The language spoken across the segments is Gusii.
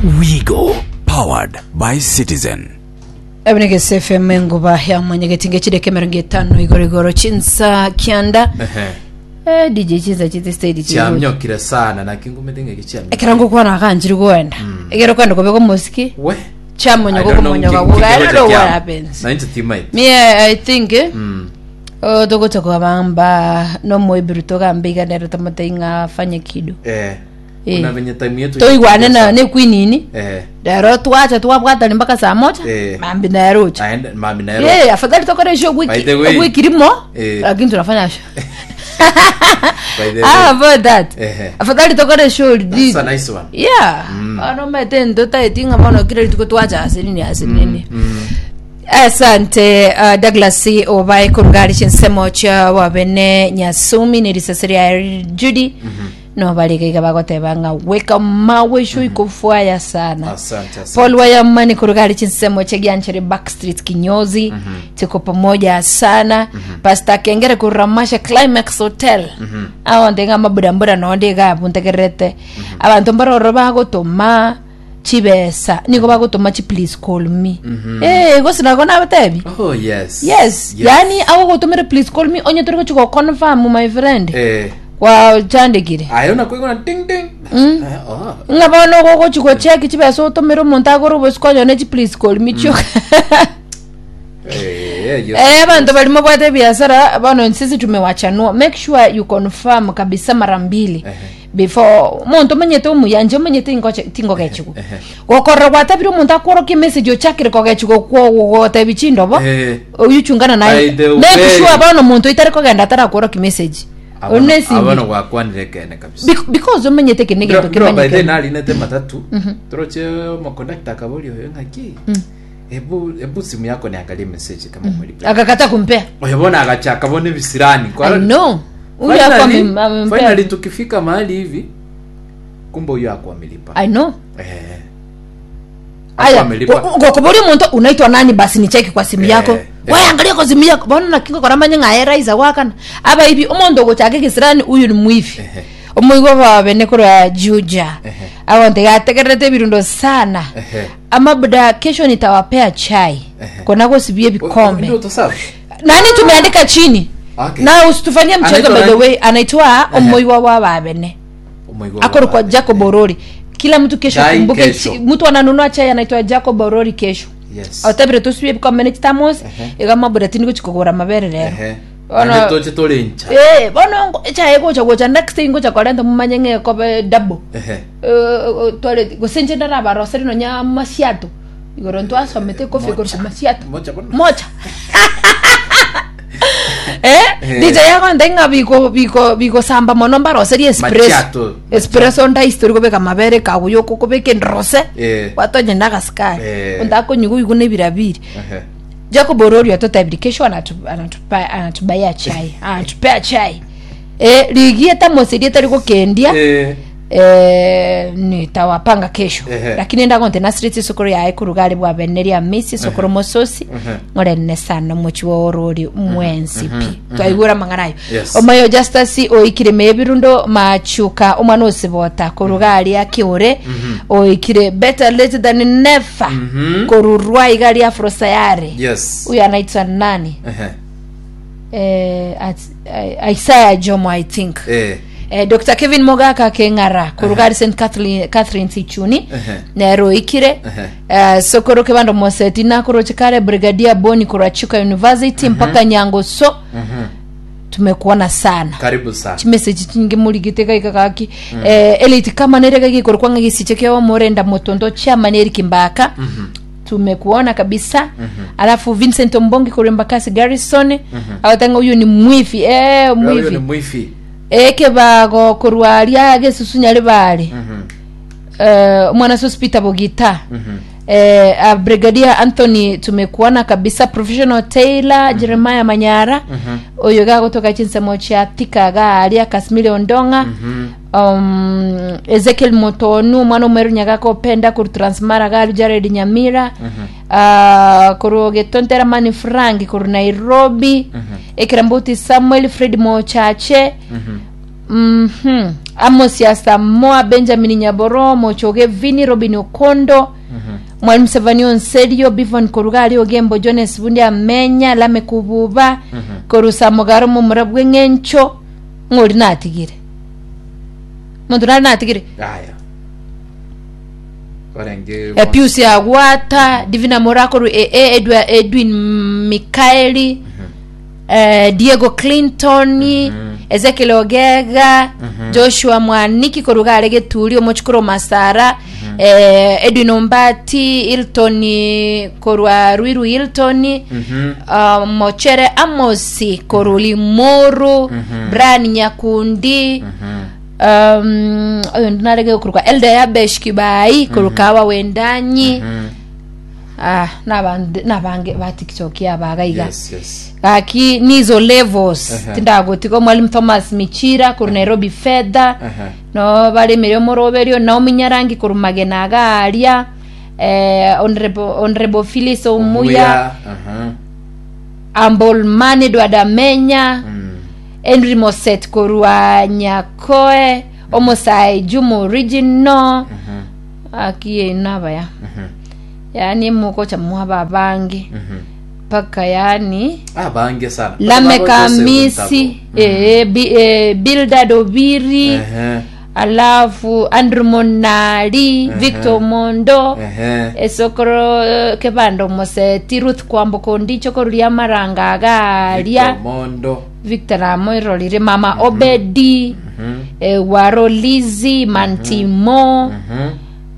Wigo, powered by Citizen. Ebinegese FM enguba ya mwanyagetinga chideka emerongo etano igoro igoro chinsa kianda Ehe. eh, DJ chinsa chite stage chiri Chiamiokire sana naki ngumete ng'eki chiamiokire. ekero ngokwana aganchiri goenda ekero kwenda kobeka omosiki We. chamonyoka I don't know okomonyoka nki- goga I nki don't know kegocha what kiamo. happens Na inche timaeti. me I, I think eh, Mm. oh, togocha kogamba nomoibiru togambe iga nero tomotebie ng'a afanye kido Eh. Eh. Buna venye time yetu toigwane na nekwinini Eh. rero twacha twabwatani mpaka saa moja Eh. mambi naerocha Aende mami naero. Eh, afadhali tokore show By wiki the way. wiki limo Eh. lakini tunafanya show By the ah way. about that Ehe. afadhali tokore show That's a nice one. yeah ano mete ndo taeti ng'a bono kila rituko twacha ase nini ase nini Asante uh, Douglas obae korugari chinsemo chia wabene Nyasumi ne risase ria Judy no barige iga bagoteba ng'a weka mawe sho ikofwaya sana Asante, asante. Paul Wayamani kurugari chinsemo cha Gianchere Backstreet kinyozi tuko pamoja sana Pastor Kengere kuramasha Climax Hotel awo ndenga maburambura nonde iga buntegerete abanto mbaroro bagotoma chibesa nigo bagotoma chi please call me eh gose nako nabatebi Oh yes. yes, yani agogotomera please call me onye tori gochi go confirm my friend Eh. gwachandekire Ayo nakoigona ding ding. Eh, oh. ng'a bono ogogochi gocheki chibesa otomere omonto agore obosiko onyone chi please call me chioka Eh, yes. Eh, abanto bari mobwate ebiasara bono sisi tumewachanua make sure you confirm kabisa mara mbili Ehe. before omonto omanyete omuya inche omanyete ingoche tingogechigwa gokorora gwatabire omonto akworokia emessage ochakire kogechigwa okwo gotebi chindobo Eh. oyu chungana naye By the make way. sure bono omonto oitari kogenda atarakworokia message Abono- Oyu nesimi. abono gwakwanire ekene kabisa Bec- because omanyete eke negento Ndiro- ndiro by the kemanyekane narinete matatu toroche omokondakta akaboria oyo ng'aki hebu hebu simu yako niangalie message kama umelipa akakata kumpea oyo bono agachaka bono ebisirani I know huyu hakuwa Finally- amem- amempea finally tukifika mahali hivi kumbe huyo hakuwa amelipa I know eh Hakuwa Aya, amelipa gokobori omonto unaitwa nani basi nicheki kwa simu Eh, yako eh. we angalia kwa simu yako bono naki ngokora manye ng'a eraisa gwakana aba ibi omonto ogochaka egesirani uyu ni mwivi Ehe. omoigwa babe korwa juja Ehe. agonte gategererete ebirundo sana Ehe. amabuda kesho nitawapea chai Ehe. kona gosibia ebikombe Ndio utasabu. nani tumeandika chini Okay. na usitufanyie mchezo Anaitwa by the nani? way anaitwa omoiwa wa babene Omoigwa akorokwa wa babe. jacob orori kila mtu kesho Chai akumbuke kesho. chi- mtu ananunua chai anaitwa jacob orori kesho Yes. otabire tusibie bikombe chitamos Ehe. iga mabura tindi gochikogora mabere rero Ehe. Bono- Naende toche tore ncha. Eh, bono ngo- echae gocha gocha next thing gocha korenta mumanye ng'e ekobe double Ehe. Eh, tware gose inche ndarabaroseri nonya masiato igoro ntwasomete kofi igoro Mocha. masiato Mocha bono. mocha eh Eh. DJ yagonte ng'a biko biko bikosamba mono mbaroserie espresso Macchiato. espresso ndaisi tori kobeka mabere kaguya okobeka endrose Eh. gwatonya na agasukari Eh. onde akonywa oigwe na ebirabiri Ehe. Jacob Orori atotebiri kesho anatu, anatupa, anatubaia chai anatupea chai eh, rigia tamoserie tari gokendia Eh. eh, nitawapanga kesho Ehe. lakini ndagonte nasireti esukuru yaye korugari bwabeneria misi esukuru mososi Ehe. ng'orene sana omochi wa orori mwensi pi twaigure amang'ana ayo Yes. omoyo justus oikire mebirundo machuka omwana osibota koruga aria kiure oikire better late than never Mhm. korurwa iga ria afrosayare Yes. huyu anaitwa nani Ehe. eh, at- eh, Isaiah Jomo I think Eh. eh, Dr Kevin Mogaka keng'ara koruga St Catherine, Catherine Sichuni Ehe. nero ikire Ehe. eh, sokoro kebando moseti nakoroche kare Brigadier Boni korwa Chuka University mpaka Nyangoso Mhm. tumekuona sana Karibu sana. chimessage chinyinge murigite gaika gaki eh, elite kama nere gaki korwa ng'a gisiche kio morenda motondo chairman Eric Mbaka tumekuona kabisa alafu Vincent Ombongi korwa Embakasi Garrison agotenga huyu ni mwifi eh Huyo ni mwifi mwifi. ekebago korwa aria gesusu nyaribare Mhm. eh, mwana sus Peter Bogita Mhm. eh, uh, Brigadier Anthony tumekuona kabisa professional Taylor Jeremiah Manyara oyo gagotoka chinsemo chia Thika garia Kasmili Ondonga um, Ezekiel Motonu omwana omweru Nyagaka Openda korwa Transmara gari Jared Nyamira uh, korwa Getontera Mani Frank korwa Nairobi Ekerambuti Samuel Fred Mochache Mhm. Amos Asamoah, Benjamin Nyaboro, Mochoge Vini, Robin Okondo, Mwalimu Sevani Onserio, Bivon Koruga ari Ogembo, Jones Bundi Amenya, Lame Kububa, Korusa Mogaro Momura bw'eng'encho, ng'ori natigire. Monto nari natigire. Aya. Orenge Epius Agwata, Divina Morakoru, AA, Edwa, Edwin Mikaeli, eh, Diego Clinton, Ezekiel Ogega, Joshua Mwaniki koruga are Geturi, omochukuru Masara, eh, Edwin Ombati, Hilton korwa Ruiru Hilton, uh, Mochere Amosi korwa Limuru, Brian Nyakundi, um, oyo narege korwa Elda Yabesh Kibai korwa Kawa Wendanyi, ah, nabande nabange ba TikTok yabaga iga Yes, yes. gaki nizo levels Ehe. tindagotiga mwalimu thomas michira korwa nairobi fedha Ehe. no baremire omoroberio naomi nyarangi korwa magena iga aria eh, honorable, honorable phyllis omuya Aha. ambolman edward amenya Mm. henry moset korwa nyakoe omosae juma original aki nabaya yani mukocha mwaba abange mpaka yani Abange sana. Lamek Baba Joseph Amisi Ntabo. eh, Bi- eh, Bildad Obiri Ehe. alafu Andrew Monali Victor Mondo Ehe. esokoro eh, kebando moseti Ruth Kwamboka Ondicho koruria maranga agaria Victor Mondo. Victor amoirorire mama Obedi eh, Waro Lizzy Mantimo Mhm.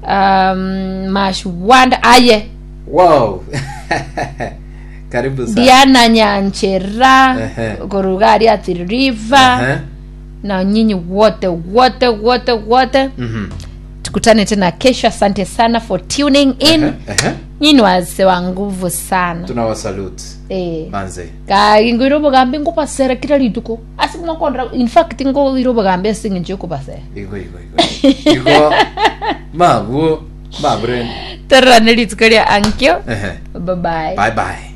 um, Mashwanda aye Wow. Karibu sana. Diana Nyanchera Ehe. korugari Athi River Ehe. na nyinyi wote wote wote wote Mhm. tukutane tena kesho asante sana for tuning in Ehe. Ehe. nyinyi wazee wa nguvu sana Tunawasalute. eh Manze. kai ngoira obogambi ngobasera kila rituko ase mwakondra in fact ngoira obogambi ase eng'encho yokobasera Igo igo igo. Igo. Mabu. Mabre. tororane rituko ria ankio Ehe. bye bye Bye bye.